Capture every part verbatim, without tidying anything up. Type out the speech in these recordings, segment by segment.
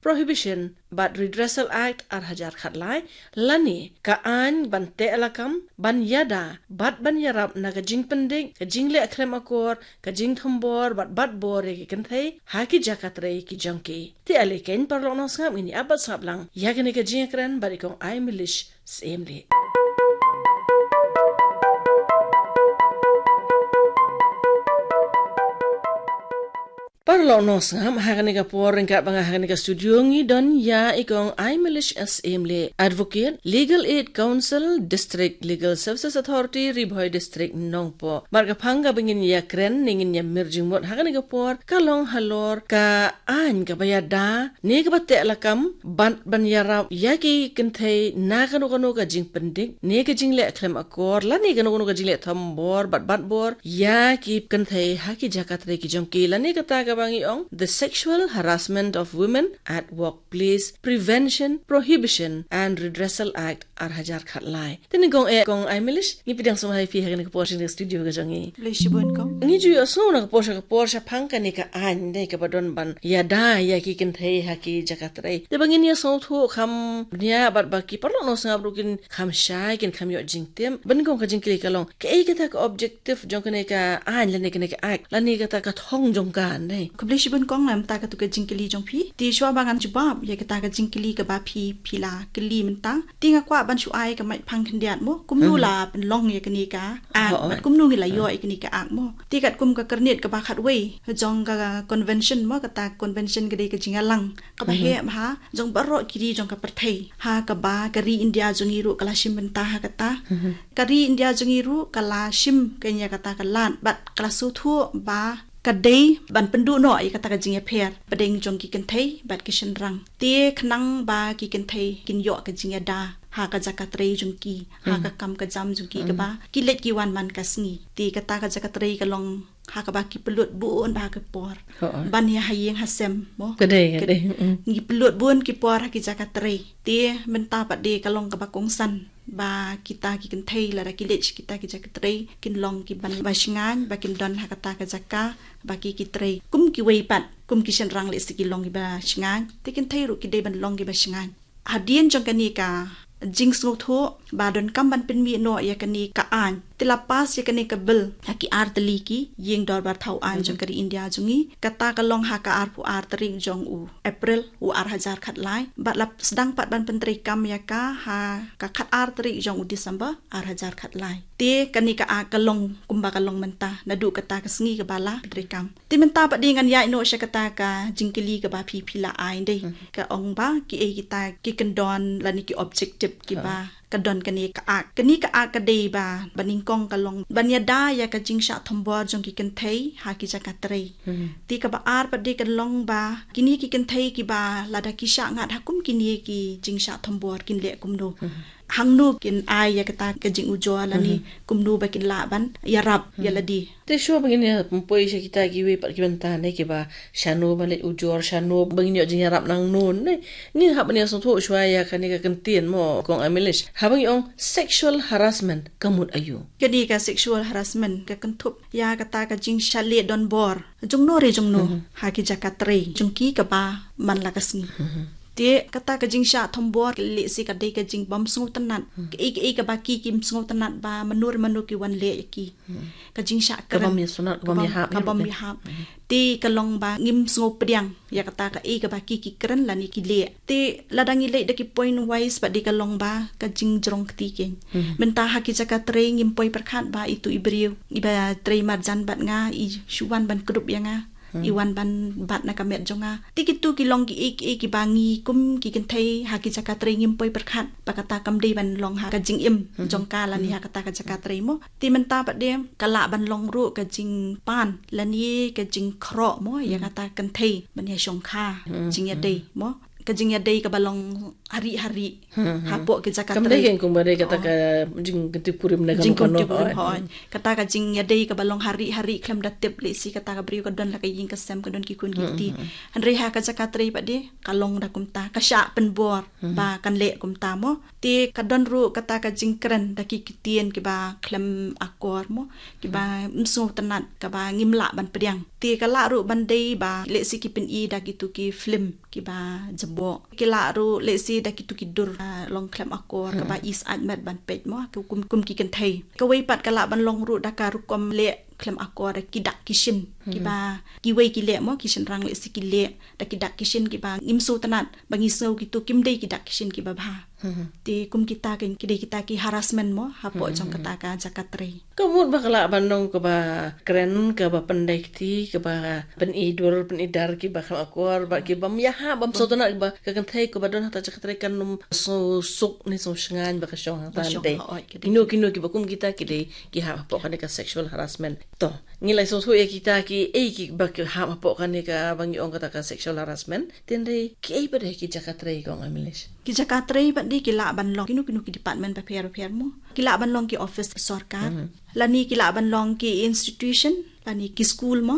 Prohibition bad Redressal Act ar hajar khatlai, lane ka aiñ ban teh lakam, ban ïada bad ban ïarap na ka jingpyndik, ka jingleh khlem akor, ka jingthombor bad batbor ïa ki kynthei ha ki jaka trei ki jong ki. Te ale keiñ paralok nongsngap, ngin ïa ap bad sngap lang ïa kane ka jingïakren bad i Kong Aimilish Syiemlieh. Paralok nongsngap, ha kane ka por ryngkat bad nga ha kane ka studio ngi don ïa i Kong Aimilish Syiemlieh, Advocate, Legal Aid Counsel, District Legal Services Authority, Ri Bhoi District, Nongpoh. Bad ka phang kaba ngin ïakren ne ngin ïamir jingmut ha kane ka por ka long halor ka aiñ kaba ïada ne kaba teh lakam bad ban ïarap ïa ki kynthei na kano kano ka jingpyndik ne ka jingleh khlem akor lane kano kano ka jingleh thombor bad batbor ïa ki kynthei ha ki jaka trei ki jong ki, lane kata kaba ngi ong the Sexual Harassment of Women at Workplace Prevention, Prohibition and Redressal Act ar hajar khatlai. Te nyngkong eh Kong Aimilish, ngi pdiang sngewbha ïa phi ha kane ka por sha kane ka studio ka jong ngi. Khublei shibun Kong. Ngi ju ïohsngew na ka por sha ka por shaphang kane ka aiñ dei kaba don ban ïada ïa ki kynthei ha ki jaka trei. Te ba ngin ïa sngewthuh kham bniah bad ba ki paralok nongsngap ruh kin kham shai, kin kham ïoh jingtip. Ba nyngkong ka jingkylli ka long, kaei kata ka objective jong kane ka aiñ lane kane ka act lane kata ka thong jong ka, dei? Khublei shibun Kong, namar kata ka jingkylli jong phi. Te shuwa ba ngan jubab ïa kata ka jingkylli kaba phi, phi la kylli mynta, te nga kwah ban shu ai ka maiphang khyndiat mo, kumno la pynlong ïa kane ka act, bad kumno ngi la ïoh ïa kane ka act mo. Te katkum ka kyrnit kaba khatwei jong ka convention mo, kata convention ka dei ka jingïalang kaba heh bha jong baroh ki ri jong ka pyrthei, ha kaba ka ri India jong ngi ruh ka la shim bynta ha kata. Ka ri India jong ngi ruh ka la shim kane ïa kata ka lad bad ka la sngewthuh ba ka dei ban pynduh noh ïa kata ka jingïapher pdeng jong ki kynthei bad ki shynrang. Te khnang ba ki kynthei kin ïoh ka jingïada ha ka jaka trei jong ki, ha ka kam ka jam jong ki kaba ki leit ki wan man ka sngi. Te kata ka jaka trei ka long ha kaba ki pynlut bun bha ki por ban ïa ha ïing ha sem mo. Ka dei, ka dei. Ngi pynlut bun ki por ha ki jaka trei. Te mynta pat de ka long kaba kongsan ba kita ki kynthei lada ki leit sha kita ki jaka trei kin long kiba shngaiñ ba kin don ha kata ka jaka ba ki, ki trei kum kiwei pat, kum ki shynrang lehse ki long kiba shngaiñ, te kynthei ruh ki dei ban long kiba shngaiñ. Hadien jong kane ka jingsngewthuh ba donkam ban pynmih noh ïa kane ka aiñ, te la pass ïa kane ka bill ha ki ar tylli ki ïing dorbar thaw aiñ jong ka ri India jong ngi. Kata ka long ha ka arphew ar tarik jong u April u ar hajar khatlai, bad la sdang pat ban pyntreikam ïa ka ha ka khatar tarik jong u December ar hajar khatlai. Te kane ka act ka long kumba ka long mynta naduh kata ka sngi kaba la pyntreikam. Te mynta pat de ngan ïaid noh sha kata ka jingkylli kaba phi, phi la ai dei, ka ong ba kiei kita ki kyndon lane ki objective kiba ka don kane ka act. Kane ka act ka dei ba, ba nyngkong ka long ban ïada ïa ka jingshah thombor jong ki kynthei ha ki jaka trei. Te kaba ar pat de ka long ba kine ki kynthei kiba lada ki shah ngat ha kum kine ki jingshah thombor kin leh kumno, hangno kin ai ïa kata ka jingujor lane kumno ba kin lah ban ïarap ïa lade. Te shuwa ba ngin ïa pynpoi sha kita kiwei pat ki bynta ne kiba shano ban leit ujor, shano ba ngin ïoh jingïarap nangno ne, ngin hap ban ïa sngewthuh shuwa ïa kane ka kyntien mo Kong Aimilish. Haba ngi ong sexual harassment ka mut aïu? Kane ka sexual harassment ka kynthup ïa kata ka jingshah leh donbor jongno re jongno ha ki jaka trei jong ki kaba man la ka sngi. Te kata ka jingshah thombor lehse ka dei ka jingbym sngewtynnat, kaei kaei kaba ki kim sngewtynnat ba mano re mano ki wan leh ïa ki. Ka jingshah kren kaba bym ïahap, kaba bym ïahap. Te ka long ba ngim sngewpdiang ïa kata kaei kaba ki ki kren lane ki leh. Te lada ngi leit da ki point wise pat de ka long ba ka jingjrong kti keiñ. Mynta ha ki jaka trei ngim poi pyrkhat ba itu i briew iba trei marjan bad nga, i shu wan ban kdup ïa nga, i wan ban bat na ka met jong nga. Te kitu ki long kiei kiei kiba ngi kum ki kynthei ha ki jaka trei ngim poi pyrkhat ba kata kam dei ban long ha ka jingim jong ka lane ha kata ka jaka trei mo. Te mynta pat de ka lah ban long ruh ka jingpan lane ka jingkhroh mo ïa kata kynthei ban ïa shongkha jingïadei mo. ka jingïadei kaba long hari-hari hapoh ki jaka trei. Kam dei kein kumba dei kata ka jingkyntip kurim na ka jingkyntip kurim, hooid. Kata ka jingïadei kaba long hari-hari khlem da tip lehse kata ka briew ka don la ka ïing ka sem, ka don ki khun ki kti. Hynrei ha ka jaka trei pat de ka long da kumta, ka shah pynbor ba kan leh kumta mo. Te ka don ruh kata ka jingkren da ki ktien kiba khlem akor mo, kiba ym sngewtynnat, kaba ngim lah ban pdiang. Te ka lah ruh ban dei ba lehse ki pyni da kitu ki film kiba jaboh. Ki lah ruh lehse da kitu ki dur, ah, long khlem akor, kaba is aitmet ban peit mo, kum, kum ki kynthei. Kawei pat ka lah ban long ruh da ka rukom leh khlem akor da ki dak ki shin, kiba kiwei ki leh mo, ki shynrang lehse ki leh da ki dak ki shin kiba ngim sngewtynnat, ba ngi sngew kitu kim dei ki dak ki shin kiba bha. Te kum kita ki, ki dei kita ki harassment mo, hapoh jong kata ka jaka trei. Ka mut ba ka lah ban long kaba kren, kaba pyndei kti, kaba pyni dur, pyni dar kiba khlem akor, ba kiba ym ïahap, bym sngewtynnat, ba ka kynthei kaba don hata jaka trei kan ym sngewsuk ne sngewshngaiñ ba ka shong hangta, hooid, ka dei. Kino kino kiba kum kita ki dei ki hap hapoh kane ka sexual harassment. To, ngi la sngewthuh ïa kita ki, eh, kiba ki hap hapoh kane kaba ngi ong kata ka sexual harassment. Te hynrei kiei pat de ki jaka trei, kong Aimilish? Ki jaka trei pat de ki lah ban long kino kino ki department bapher bapher mo. Ki lah ban long ki office sorkar. Lane ki lah ban long ki institution, lane ki school mo.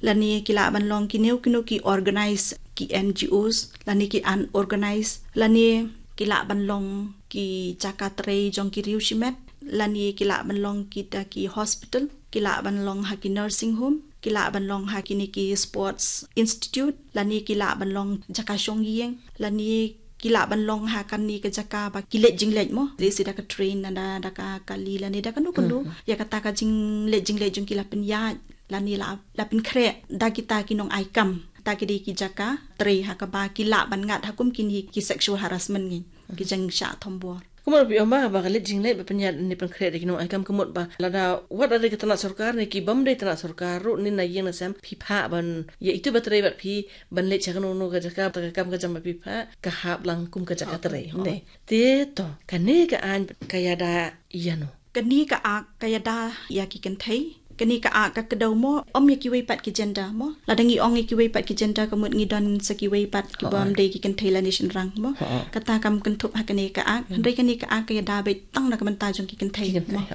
Lane ki lah ban long kino kino ki organize, ki N G Os, lane ki unorganized, lane ki lah ban long ki jaka trei jong ki riew shimet, lane ki lah ban long kita ki hospital, ki lah ban long ha ki nursing home, ki lah ban long ha kine ki sports institute, lane ki lah ban long jaka shong ïing, lane ki lah ban long ha kane ka jaka ba ki leit jingleit mo, lehse da ka train, lane da ka kali, lane da kano kano. Ïa kata ka jingleit jingleit jong ki la pynïaid, lane la, la pynkhreh da kita ki nongai kam. Kata ki dei ki jaka trei ha kaba ki lah ban ngat ha kum kine ki sexual harassment ngi, ki jingshah thombor. Ka mut ba phi ong ba, ba ka leit jingleit ba pynïaid ne pynkhreh da ki nongai kam, ka mut ba lada wat la dei ka tnat sorkar ne ki bym dei tnat sorkar ruh, ne na ïing na sem, phi phah ban ïa itu ba trei bad phi ban leit sha kano kano ka jaka, ba ka kam ka jam ba phi phah, ka hap lang kum ka jaka trei. Ne. Te to, kane ka aiñ ka ïada ïano? Kane ka ak ka ïada ïa ki kynthei. Kane ka ak ka kdew mo, ym ïa kiwei pat ki gender mo. Lada ngi ong ïa kiwei pat ki gender, ka mut ngi don sa kiwei pat ki bym dei ki kynthei lane shynrang mo. Kata kam kynthup ha kane ka ak. Hynrei kane ka ak ka ïada beit tang na ka bynta jong ki kynthei mo.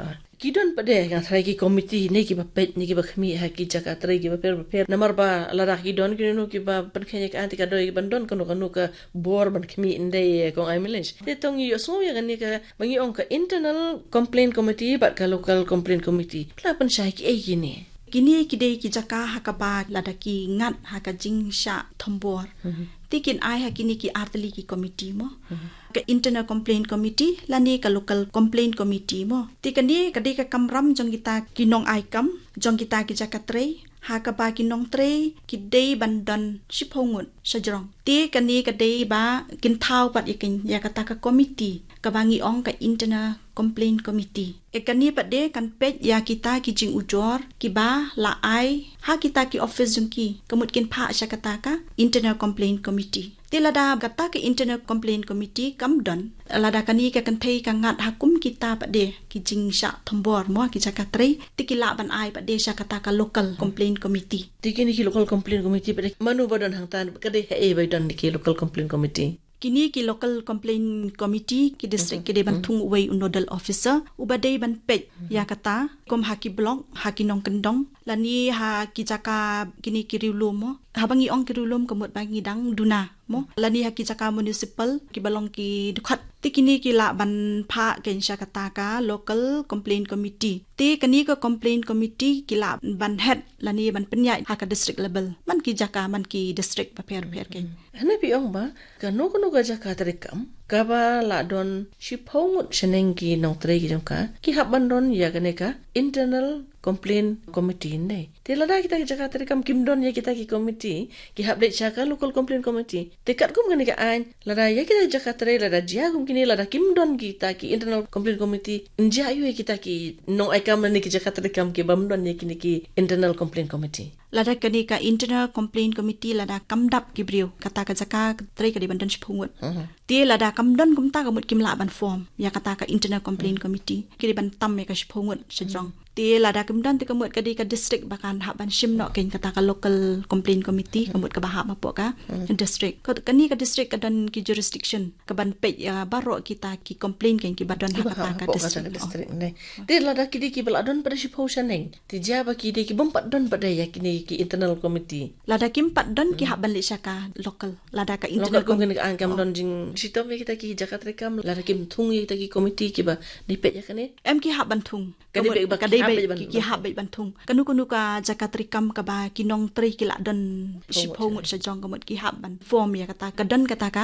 Ki don pat de, nga tharai, ki komiti ne kiba peit ne kiba khmih ha ki jaka trei kiba pher bapher. Namar ba lada ki don kino kino kiba pynkheiñ ïa ka aiñ te ka dei ban don kano kano ka bor ban khmih, ym dei, kong Aimilish? Te to ngi ïohsngew ïa kane ka ba ngi ong ka Internal Complaint Committee bad ka Local Complaint Committee. Phi la pynshai kiei kine? Kine ki dei ki jaka ha kaba lada ki ngat ha ka jingshah thombor, te kin ai ha kine ki artylli ki komiti mo. Ka Internal Complaint Committee lane ka Local Complaint Committee mo. Te kane ka dei ka kamram jong kita ki nongai kam, jong kita ki jaka trei, ha kaba ki nongtrei ki dei ban don shiphew ngut shajrong. Te kane ka dei ba kin thaw pat ïa kane, ïa kata ka komiti kaba ngi ong ka Internal Complaint Committee. Ïa kane pat de kan peit ïa kita ki jingujor kiba la ai ha kita ki office jong ki, ka mut kin phah sha kata ka Internal Complaint Committee. Te lada kata ka Internal Complaint Committee kam don, lada kane ka kynthei ka ngat ha kum kita pat de ki jingshah thombor mo, ki jaka trei, te ki lah ban ai pat de sha kata ka Local Complaint Committee. Te kine ki Local Complaint Committee pat de, mano ba don hangta, ka dei haei ba don ki Local Complaint Committee? Kine ki Local Complaint Committee, ki district ki dei ban thung uwei u nodal officer uba dei ban peit ïa kata, kum ha ki block, ha ki nongkyndong, lane ha ki jaka kine ki riewlum mo. Haba ngi ong ki riewlum ka mut ba ngi dang duna mo. Lane ha ki jaka municipal kiba long ki dkhot. Te kine ki lah ban phah kein sha kata ka Local Complaint Committee. Te kane ka Complaint Committee ki lah ban head lane ban pynïaid ha ka district level, man ki jaka, man ki district bapher bapher kein. Hynrei phi ong ba kano kano ka jaka treikam kaba la don shiphew ngut shaneng ki nongtrei ki jong ka, ki hap ban don ïa kane ka Internal Complaint Committee ne. Te lada kita ki jaka treikam kim don ïa kita ki komiti, ki hap leit sha ka Local Complaint Committee. Te katkum kane ka aiñ, lada ïa kita ki jaka trei, lada jia kum kine, lada kim don kita ki Internal Complaint Committee, ym jia aiu ïa kita ki nongai kam lane ki jaka treikam ki bym don ïa kine ki Internal Complaint Committee? Lada kane ka Internal Complaint Committee lada kam dap ki briew, kata ka jaka trei ka dei ban don shiphew ngut. Te lada kam don kumta ka mut kim lah ban form ïa kata ka Internal Complaint Committee, ki dei ban tam ïa ka shiphew ngut shajrong. Te lada kim don te ka mut ka dei ka district ba kan hap ban shim noh kein kata ka local complaint committee, ka mut kaba hap hapoh ka district. Ka, kane ka district ka don ki jurisdiction kaban peit ïa baroh kita ki complaint kein kiba don ha kata ka district. Te lada ki dei kiba la don pat da shiphew shaneng, te ïa ba ki dei ki bym pat don pat da ïa kine ki internal committee. Lada kim pat don ki hap ban leit sha ka local. Lada ka internal committee, ka angkam don jingshitom ïa kita ki jaka treikam, lada kim thung ïa kita ki committee kiba dei peit ïa kane. Em, ki hap ban thung. Ka dei beit ba ki hap beit ban thung. Kano kano ka jaka treikam kaba ki nongtrei ki la don shiphew ngut shajrong, ka mut ki hap ban form ïa kata, ka don kata ka